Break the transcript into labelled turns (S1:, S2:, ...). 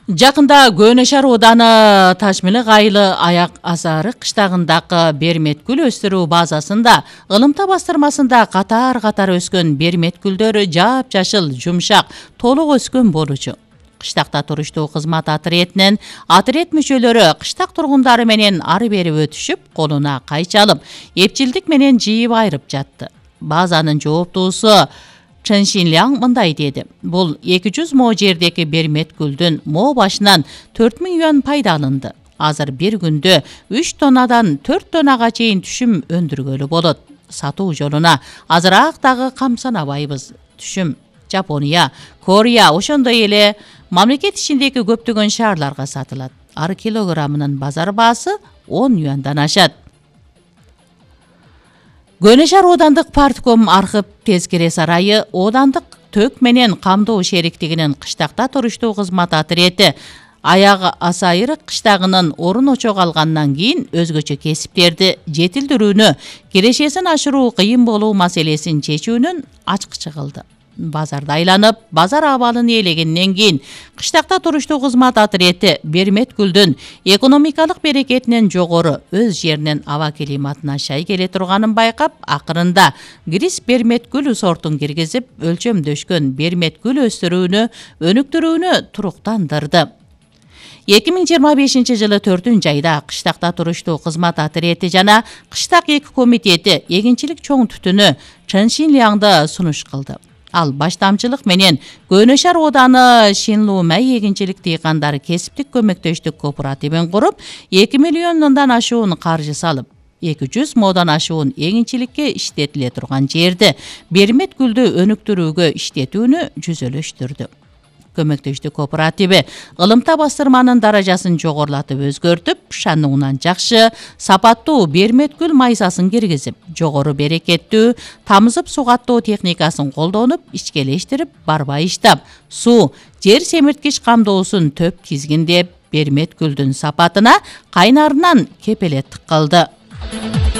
S1: Жакында Көөнө шаар ооданы Ташмелек айылы Аяк Асары кыштагындагы берметгүл өстүрүү базасында ылымта бастырмасында катар өскөн берметгүлдөр жапжашыл, жумшак, толук өскөн болчу. Кыштакта туруштуу кызмат отрядынын отряд мүчөлөрү кыштак тургундары менен ары бери өтүшүп, колуна кайчы алып, эпчилдик менен жыйып айрып жатты. Базанын жооптуусу Чен Шинляң мындай деди. Бул 200 мо жердеги берметгүлдүн мо башынан 4000 юан пайда алынды. Азыр бир күндө 3 тоннадан 4 тоннага чейин түшүм өндүргөлү болот. Сатуу жолуна азыраак дагы камсанабайбыз. Түшүм Жапония, Корея, ошондой эле мамлекет ичиндеги көптөгөн шаарларга сатылат. Ар килограммынын базар баасы 10 юандан ашат. Көөнө шаар оодандык партком архив тескере сарайы оодандык төк менен камдоо шериктигинин кыштакта туруштуу кызмат отряды Аяк Асайыр кыштагынын орун очого алгандан кийин өзгөчө кесиптерди жетилдирүүнү, кирешесин ашыруу кыйын болуу маселесин чечүүнүн ачкычы кылды. Базарда айланып, базар абалын ээлегенден кийин кыштакта туруштуу кызмат отряды берметгүлдүн экономикалык берекетинен жогору өз жеринен аба климатына шай келе турганын байкап, акырында Грис берметгүл сортун киргизип, өлчөмдөшкөн берметгүл өстүрүүнү, өнүктүрүүнү туруктандырды. 2025 жылы 4-айда кыштакта туруштуу кызмат отряды жана кыштак эки комитети эгинчилик чоң түтүнү Чен Шинляңды сунуш кылды. Ал баштамчылык менен Көөнө шаар ооданы Шинлумай эгинчилик дыйкандары кесиптик көмөктөштүк кооперативин куруп, 2 миллиондон ашуун каржы салып, 200 модан ашуун эгинчиликке иштетиле турган жерди берметгүлдү өнүктүрүүгө иштетүүнү жүзөлөштүрдү. Көмөктөштүк кооперативи ылымта бастырманын даражасын жогорулатып өзгөртүп, шануунан жакшы, сапаттуу берметгүл майсасын киргизип, жогору берекеттүү, тамызып сугаттоо техникасын колдонуп, ичкелештирип, барбай иштап, суу, жер семирткич камдоосун төп тизгиндеп, берметгүлдүн сапатына кайнарынан кепелеттик кылды.